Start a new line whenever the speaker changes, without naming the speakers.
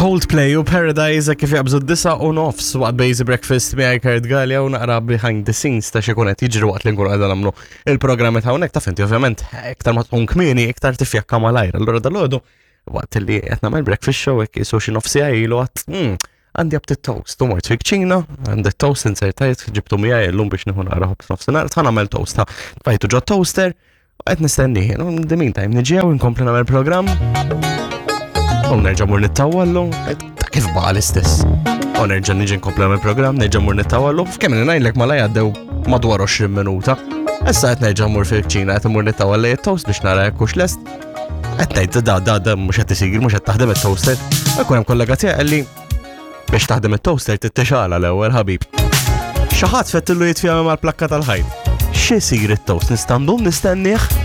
Coldplay u Paradise kif jaqbżu d-9:30 waqt Basic Breakfast miegħi Kurt Gallia u naqra behind the scenes ta' xi qed jiġri waqt li nkunu qegħda nagħmlu il-programmi ta' hawnhekk taf inti ovvjament iktar ma tkun kmieni iktar tifjakka malajr. Allura dalgħodu waqt li qed nagħmel breakfast show hekk qisu xi nofs siegħa ilu għadt hmm, għandi aptit toast u mort fil-kċina, għandi toast insertajt ġibtu miegħi llum biex nieħu naqra ħobż nofsinhar, ta' nagħmel toast ta' tfajtu ġo toaster U qed nistenni, in the meantime niġi hawn inkompli nagħmel programm. U nerġa' mur nittawallu, ta' kif baqa' l-istess. U nerġa' niġi nkompli nagħmel programm, nerġa' mur nittawallu, f'kemm ngħidlek malaj għaddew madwar 20 minuta. Issa qed nerġa' mur fil-kċina qed imur nittawallu it-toast biex nara jekk hux lest. Qed ngħid da da da mhux qed isir, mhux qed taħdem it-toaster. Ikun hemm kollega tiegħi li Biex taħdem it-toaster tittixala l-ewwel ħabib. Xi ħadd fettillu jitfija mal-plakka tal-ħajt. X'isir it-toast nista' ndum nistennih?